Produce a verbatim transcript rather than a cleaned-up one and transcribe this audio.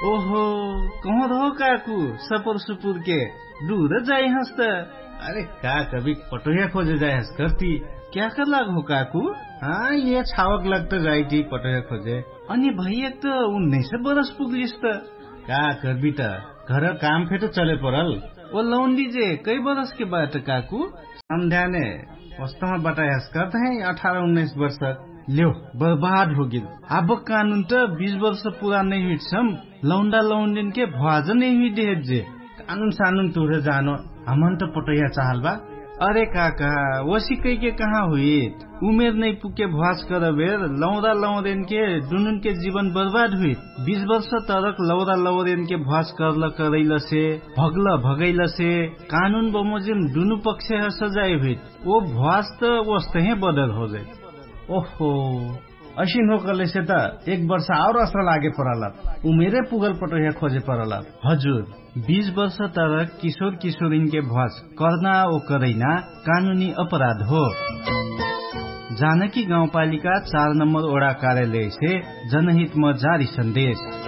ओहो, कहोर हो काकु? सपुर सुपुर के डुर जाइहस त। अरे का कभी पटोहिया खोजे जाइहस कर्ती? क्या कर लाग हो काकु? हाँ, ये छावक लग त जाइटी पटोहिया खोजे। अनि भैया त उन्नैस बरस पुग्लिस त। का कर्बी त, घर काम फेट चले परल। ओ लौन्डी जे कै बरस के बाट काकु? सम्ध्याने वस्तमा बटाइहस कर्त है अठार उन्नैस बर्ष। ल्यो, बर्बाद होगिल। आबक कानुन त बीस बर्ष पुरा नै हुइटसम। लौन्डा लौन्डिन के भ्वाज नै हुइदेहेत जे। कानुन सानुन तुरे जानो। हमन त पटोहिया चाहल बा। अरे काका, वसी कैके कहाँ हुइत? उमेर नै पुके भ्वाज करबेर लौरा लौरेन के दुनुन के जीवन बर्बाद हुइत। बीस बर्ष तरक लौरा लौरेन के भ्वाज करल करैल से, भगल भगैल से, कानुन बमोजिम दुनु पक्ष ह सजाय हुइत। ओ भ्वाज त वस्तहे बदर होजैत। ओहो, असिन हो कहलेसे त एक बर्ष आउर असर लागे परलत। उमेरे पुगल पटोहिया खोजे परलत। हजुर, बीस बर्ष तर किशोर किशोरिनके भ्वास कर्ना ओ करैना कानुनी अपराध हो। जानकी गाउँपालिका चार नम्बर ओडा कार्यालयसे जनहितम जारी सन्देश।